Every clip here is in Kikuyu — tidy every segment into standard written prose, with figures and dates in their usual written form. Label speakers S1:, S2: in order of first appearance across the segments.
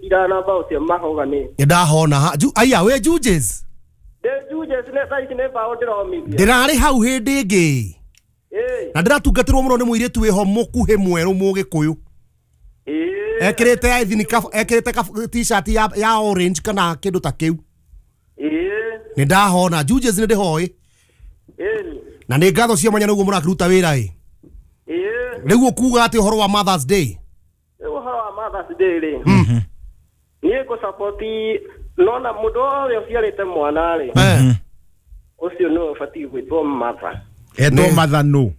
S1: ndĩgwĩkira na bao cia mahogani.
S2: Ndahona aya we Juges.
S1: Ndĩ Juges nĩ thaa ici nĩ bao ndĩromithia.
S2: Ndĩrarĩ hau hĩndĩ ĩngĩ. Na ndĩratungatĩrwo mũno nĩ mũirĩtu wĩho mũkuhĩ mwerũ mũgĩkũyũ. Ekĩrĩte ekĩrĩte t-shirt ya orange kana kĩndũ ta kĩu. Nĩ ndahona Juges nĩ ndĩhoĩ. Na nĩ ngatho cia mwanya nĩguo mũrakĩruta wĩra ĩ. Rĩu ũkuga atĩ ũhoro wa Mother's Day.
S1: Rĩu ũhoro wa Mother's Day rĩ. Niĩ ngũ-support nona mũndũ wothe ũciarĩte mwana rĩ. Ũcio nĩwe ũbatiĩ gwĩtwo mother.
S3: Etwo mother no.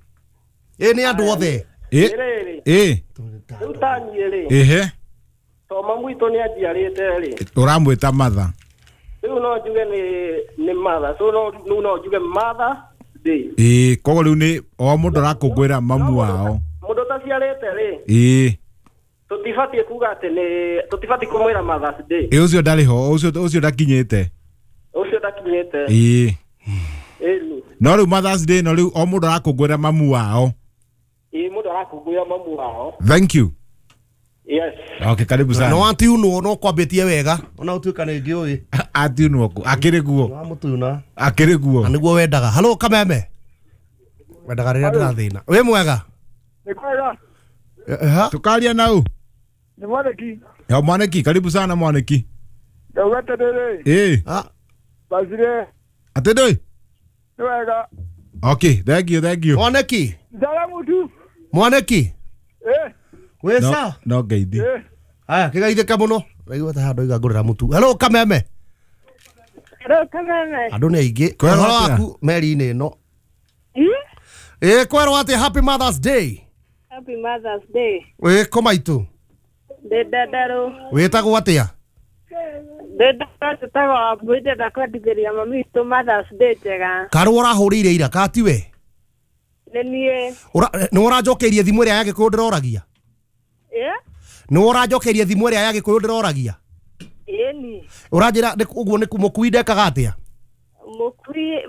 S2: Ĩ nĩ andũ othe.
S1: Rĩu ta niĩ rĩ.
S3: Ehe.
S1: To mamu witũ nĩ anjiarĩte rĩ.
S3: Ũramwĩta mother.
S1: Rĩu no njuge nĩ mother. So rĩu no njuge Mother Day.
S3: Ĩĩ koguo rĩu nĩ o mũndũ arakũngũĩra mamu wao.
S1: Mũndũ ũtaciarĩte rĩ.
S3: Ĩĩ.
S1: Tũtibatiĩ kuga atĩ nĩ tũtibatiĩ kũmwĩra Mother's Day.
S3: Ĩ ũcio ndarĩ ho, ũcio ndakinyĩte.
S1: Ũcio ndakinyĩte.
S3: Ĩĩ.
S1: Ĩni.
S3: No rĩu Mother's Day no rĩu o mũndũ arakũngũĩra mamu wao.
S1: Ĩĩ mũndũ arakũngũĩra mamu wao.
S3: Thank you.
S1: Yes.
S3: Okay, karibu sana.
S2: No atiunwo no kwambĩtie wega. Ona ũtuĩka nĩ ngĩũĩ.
S3: Atiunwo kũ? Akĩrĩ guo.
S2: Wamũtuna.
S3: Akĩrĩ guo.
S2: Na nĩguo wendaga. Hello Kameme. Wendaga rĩrĩa ndĩrathĩna. Wĩ mwega?
S4: Nĩ kwega.
S3: Tukaria nau.
S4: Ni mwaniki.
S3: Ya mwaniki, karibu sana mwaniki.
S4: Ndauga atĩrĩrĩ.
S3: Eh.
S2: Ah.
S4: Bazire.
S3: Atĩ ndũĩ?
S4: Nĩ wega.
S3: Okay, thank you, thank you.
S2: Mwaniki.
S4: Ndara mutu.
S2: Mwaniki.
S4: Eh.
S2: Wĩ sa?
S3: No ngeithi.
S4: Eh.
S2: Aya, kĩgeithĩke mũno. Raigua ta handũ ngũrĩra mũtu. Hello Kameme.
S5: Hello Kameme.
S2: Andũ nĩ aingĩ. Ũhoro waku meri-inĩ ĩno. Ĩ kwerwo atĩ Happy Mother's Day.
S5: Happy Mother's Day.
S2: Wĩ kũ maitũ?
S5: Ndĩ Ndandarũ.
S2: Wĩtagwo atĩa?
S5: Ndĩ Ndandarũ njĩtagwo Wambui, ndĩrenda kwendithĩria mami witũ Mother's Day njega.
S2: Karũa ũrahũrĩire ira ka tiwe?
S5: Nĩ niĩ.
S2: Nĩ ũranjokeirie thimũ ĩrĩa ya Gĩkũyũ ndĩroragia?
S5: Ĩ?
S2: Nĩ ũranjokeirie thimũ ĩrĩa ya Gĩkũyũ ndĩroragia?
S5: Ĩni.
S2: Ũranjĩra ũguo nĩ mũkui ndekaga atĩa?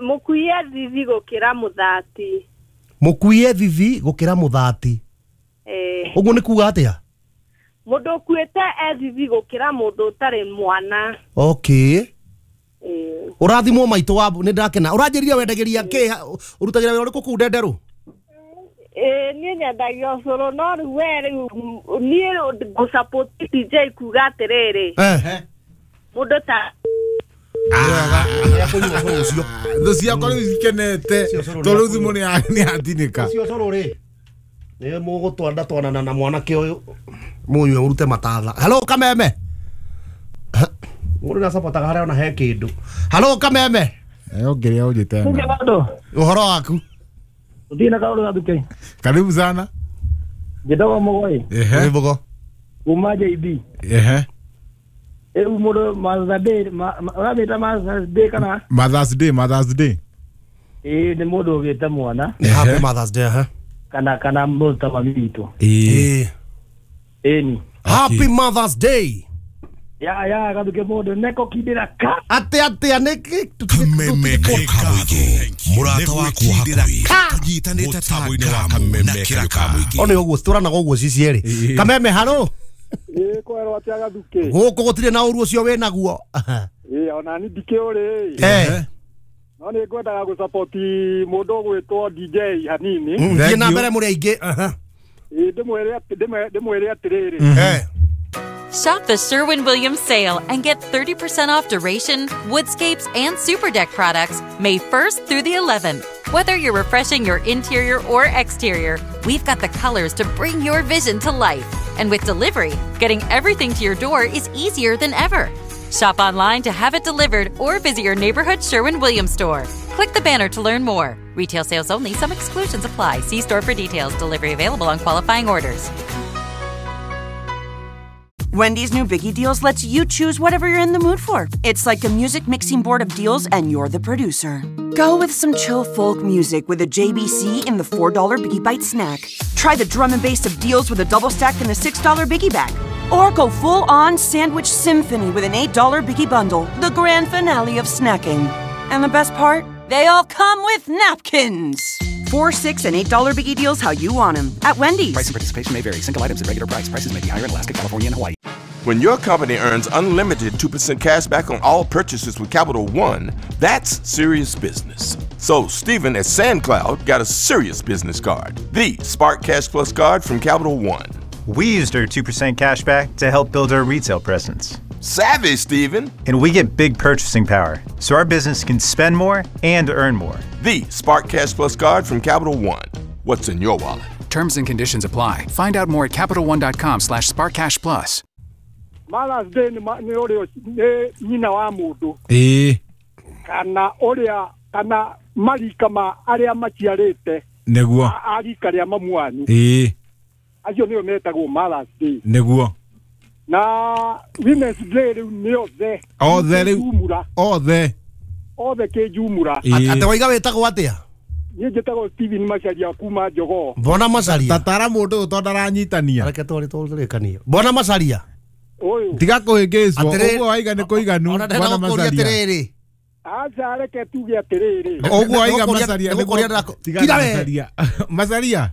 S5: Mũkui e thithi gũkĩra mũthati.
S2: Mũkui e thithi gũkĩra mũthati.
S5: Ĩ.
S2: Ũguo nĩ kuga atĩa?
S5: Mũndũ ũkuĩte e thithi gũkĩra mũndũ ũtarĩ mwana.
S2: Okay. Ũrathimwo maitũ wa nĩ ndakena. Ũranjĩrire wendagĩria kĩ? Ũrutagĩra wĩra ũrĩkũ kũu Ndenderũ?
S5: Niĩ nyendagia ũcũrũ no rĩu we rĩu niĩ ngũ-support DJ kuga atĩrĩrĩ. Mũndũ ta
S3: Thũ ciakwa rĩu cikenete tondũ rĩu thimũ nĩ yatinĩka.
S2: Ũcio ũcũrũ rĩ nĩ mũgũtwanda twanana na mwanake ũyũ mũnyue mũrute matatha. Hello Kameme. Mũndũ nĩacabotaga harĩa ona he kĩndũ. Hello Kameme.
S3: Ongeria ũnjĩte.
S2: Ũhoro waku?
S4: Ũthiĩ na kaũndũ gathuke.
S3: Karibu sana.
S4: Njĩtagwo Mũgoi.
S3: Ehe.
S2: Mũgo.
S4: Kuma JB.
S3: Ehe.
S4: Rĩu mũndũ Mother's Day, ũramĩta Mother's Day kana?
S3: Mother's Day, Mother's Day.
S4: Ĩĩ nĩ mũndũ ũgĩte mwana.
S2: Happy Mother's Day, ha?
S4: Kana mũndũ ta mami witũ.
S3: Ĩĩ.
S4: Ĩni.
S2: Happy Mother's Day.
S4: Ya gathuke mũndũ neko kindĩra ka.
S2: Atĩa nĩkĩ
S6: Kameme kamũingĩ mũrata waku hakuhĩ tũnyitanĩte ta ngamu na kĩra kamũingĩ.
S2: O nĩ ũguo tũranaga ũguo cicierĩ. Kameme haro.
S4: Ĩĩ kwerwo atĩa gathuke.
S2: Gũkũ gũtirĩ na ũru ũcio wĩnaguo.
S4: Ĩĩ ona ni ndikĩũrĩ. No nĩ ngwendaga gũ-support mũndũ ũgwĩtwo DJ hanini.
S2: Thiĩ na mbere mũrĩ aingĩ.
S4: Ĩĩ ndĩmwĩre atĩrĩrĩ.
S7: Shop the Sherwin-Williams sale and get 30% off Duration, Woodscapes, and Superdeck products May 1st through the 11th. Whether you're refreshing your interior or exterior, we've got the colors to bring your vision to life. And with delivery, getting everything to your door is easier than ever. Shop online to have it delivered or visit your neighborhood Sherwin-Williams store. Click the banner to learn more. Retail sales only. Some exclusions apply. See store for details. Delivery available on qualifying orders.
S8: Wendy's new Biggie Deals lets you choose whatever you're in the mood for. It's like a music mixing board of deals, and you're the producer. Go with some chill folk music with a JBC in the $4 Biggie Bite snack. Try the drum and bass of deals with a double stack in the $6 Biggie Bag. Or go full-on sandwich symphony with an $8 Biggie Bundle, the grand finale of snacking. And the best part? They all come with napkins. $4, $6, and $8 Biggie Deals how you want them at Wendy's.
S9: Price and participation may vary. Single items at regular price. Prices may be higher in Alaska, California, and Hawaii. When your company earns unlimited 2% cash back on all purchases with Capital One, that's serious business. So Steven at SandCloud got a serious business card, the Spark Cash Plus card from Capital One.
S10: We used our 2% cash back to help build our retail presence.
S9: Savvy, Steven.
S10: And we get big purchasing power, so our business can spend more and earn more.
S9: The Spark Cash Plus card from Capital One. What's in your wallet?
S11: Terms and conditions apply. Find out more at CapitalOne.com/SparkCashPlus.
S4: Mother's Day nĩ ũrĩa nĩ nyina wa mũndũ kana ũrĩa kana marika ma arĩa maciarĩte
S3: nĩguo
S4: arika rĩa mamu wanyu acio nĩo metagwo Mother's Day
S3: nĩguo
S4: na Women's Day rĩu nĩ othe
S3: othe rĩu othe
S4: othe kĩnjumũra.
S2: Atĩ waiga wĩtagwo atĩa?
S4: Niĩ njĩtagwo Steven Macharia kuma Jogoo.
S2: Mbona Macharia
S3: tatara mũndũ ũyũ tondũ ndaranyitania.
S2: Reke twarĩ tũrĩkanie. Mbona Macharia
S3: tiga kũhĩngĩcwo ũguo waiga nĩ kũiganu.
S2: Bwana Macharia
S4: aca reke tuge atĩrĩrĩ
S3: ũguo waiga Macharia tiga Macharia Macharia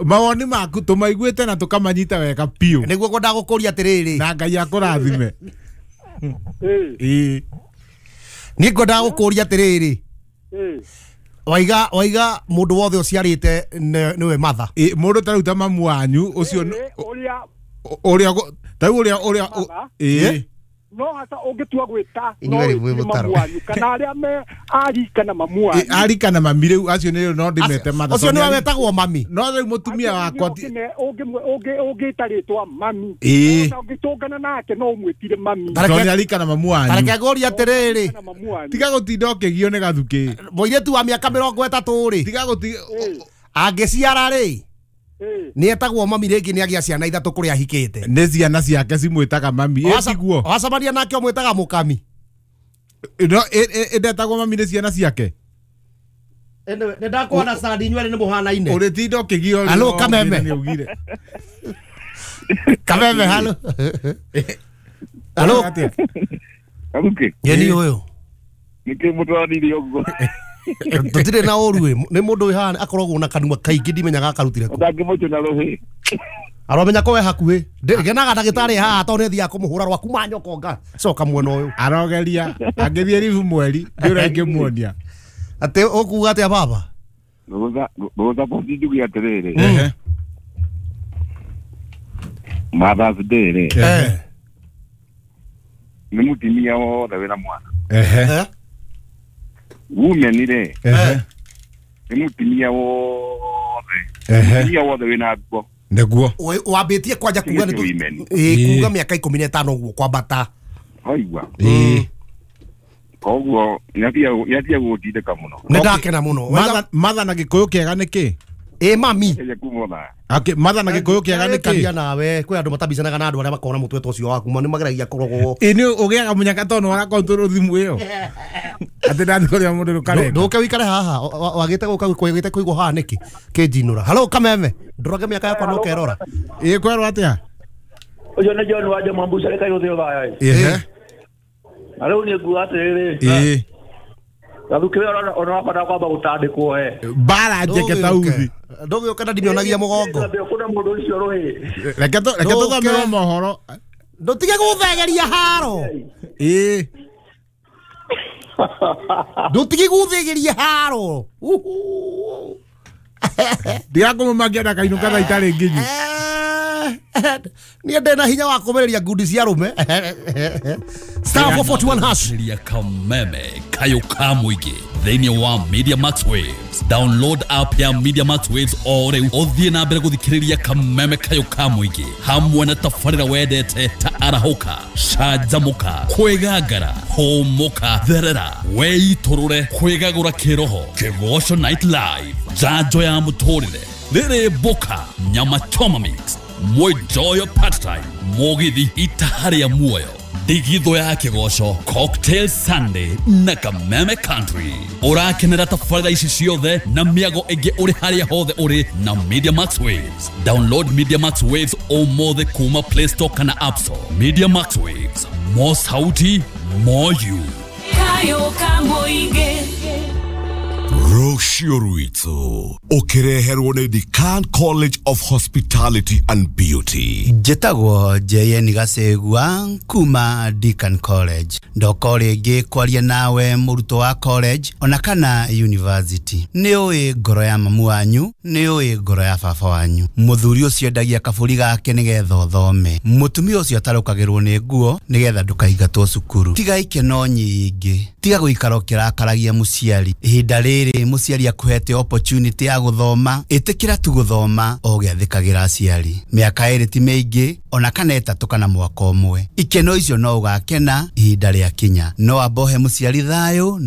S3: mawoni maku tũmaiguĩte na tũkamanyita wega biũ
S2: nĩguo ngwendaga gũkũria atĩrĩrĩ
S3: na Ngai akũrathime.
S2: Niĩ ngwendaga gũkũria atĩrĩrĩ waiga waiga mũndũ wothe ũciarĩte nĩwe mother.
S3: Mũndũ ta rĩu ta mamu wanyu ũcio ũrĩa ta ũrĩa ũrĩa
S4: no hata ũngĩtua gwĩta no mamu wanyu kana arĩa me ari kana mamu wanyu
S3: ari kana mami rĩu acio nĩ no ndĩmete mother
S2: ũcio nĩwe wetagwo mami
S3: no rĩu mũtumia wakwa
S4: ũngĩta rĩtwa mami na ũngĩtũngana nake no ũmwĩtire mami
S3: tondũ nĩ ari kana mamu wanyu.
S2: Reke ngũrie atĩrĩrĩ
S3: tiga gũtinda ũkĩgio nĩ gathukĩ
S2: mũirĩtu wa mĩaka 30 rĩ
S3: tiga gũtinda
S2: angĩciara rĩ nĩ etagwo mami rĩngĩ nĩ agĩa ciana ithatũ kũrĩa ahikĩte
S3: nĩ ciana ciake cimwĩtaga mami ĩtiguo
S2: wacemania nake ũmwĩtaga mũkami
S3: no ĩndetagwo mami nĩ ciana ciake
S2: nĩ ndakuona sandi inyuerĩ nĩ mũhanaine
S3: ũrĩtinda ũkĩgio.
S2: Halo Kameme Kameme halo halo
S12: Karuke
S2: yeni ũyũ
S12: nĩkĩ mũtwaranirie ũguo
S2: tũtirĩ na ũru nĩ mũndũ wĩ haha akoragwo na kanua kaingĩ ndimenyaga akarutire kũ
S12: ũtangĩmũcũna rũhĩ
S2: aramenya ko we hakuhĩ ngenaga ndagĩtarĩ haha tondũ nĩ thiaga kũmũhũra rwa kuma nyoko ngacoka mwena ũyũ
S3: arogeria angĩthiĩ ribu mweri ndĩ ũrĩa ingĩmuonia
S2: atĩ ũkuga atĩa baba
S12: ngũthapoti njuge atĩrĩrĩ Mother's Day rĩ nĩ mũtumia wothe wĩna mwana women rĩ nĩ mũtumia wothe mũtumia wothe wĩna nguo
S3: nĩguo
S2: wambĩtie kwanja kuga nĩ kuga mĩaka 15 ũguo kwambata
S12: waigua koguo nĩatige gũtindĩka mũno
S2: nĩ ndakena mũno.
S3: Mother na gĩkũyũ kĩega nĩ kĩ
S2: mami
S3: mother na gĩkũyũ kĩega nĩ kĩ
S2: nawe kwĩ andũ matabicanaga na andũ arĩa makona mũtwe ta ũcio waku nĩ mageragia kũrogwo
S3: nĩ ũgĩaga mũnyaka tondũ nĩ warakontrol thimũ ĩyo atĩ ndathiĩ kũrĩa mũndũ rũkarenga
S2: ndũke wĩikare haha wagĩte gũka wagĩte kũigwo haha nĩkĩ kĩnjinũra. Halo Kameme ndũroge mĩaka yakwa no kerora
S3: kwerwo atĩa
S1: ũcio nĩ John wa Jamambuca rĩ kairũ thĩ thaya na rĩu nĩ nguga atĩrĩrĩ gathukĩ ona wakwenda kwamba gũtandĩkwo we
S3: mbara njeke ta uthi
S2: ndũgĩũke na ndimĩonagia mũgongo
S1: kuna mũndũ ũcio rũhĩ
S3: reke tũthomerwo mohoro
S2: ndũtige gũthegeria haro ndũtige gũthegeria haro
S3: ndigakũmũmakia ndakainũka thaa itarĩ nginyu
S2: niĩ ndĩna hinya wa kũmĩrĩria ngundi cia arũme. Star 441 hash
S13: ya Kameme kayo ka mũingĩ thĩinĩ wa Media Max Waves. Download app ya Media Max Waves o rĩu ũthiĩ na mbere gũthikĩrĩria Kameme kayo ka mũingĩ hamwe na tabarĩra wendete ta arahũka canjamũka kwĩgangara hũmũka therera weitũrũre kwĩgagũra kĩroho kĩgoco night live njanjo ya mũtũrĩre rĩrĩ mboka nyama choma mix mwijoyo part time mũgithi itaharĩa muoyo ndigitho ya kĩgoco cocktail Sunday na Kameme Country. Ũrakenera tabarĩra ici ciothe na mĩago ĩngĩ ũrĩ harĩa hothe ũrĩ na Media Max Waves. Download Media Max Waves ũmũthĩ kuma Play Store kana App Store. Media Max Waves, more sauti, more you.
S14: Kayo ka mũingĩ.
S6: Rũciũ rwitũ ũkĩreherwo nĩ Decan College of Hospitality and Beauty.
S14: Njĩtagwo JN Gacegua kuma Deacon College. Ndoka rĩngĩ kwaria nawe mũrutwo wa college ona kana university. Nĩ ũĩ ngoro ya mamu wanyu, nĩ ũĩ ngoro ya baba wanyu. Mũthuri ũcio endagia kabũri gake nĩgetha ũthome. Mũtumia ũcio atarũkagĩrwo nĩ nguo nĩgetha ndũkaingatwo cukuru. Tiga ikeno nyingĩ, tiga gũikara ũkĩrakaragia mũciari. Ihinda rĩrĩ mũciari akuhete opportunity ya gũthoma, ĩtĩkĩra tu gũthoma o ũgĩathĩkagĩra aciari. Mĩaka 2 ti mĩingĩ, ona kana 3 kana mwaka ũmwe. Ikeno icio no ũgakena ihinda rĩakinya. No ambohe mũciari thayũ.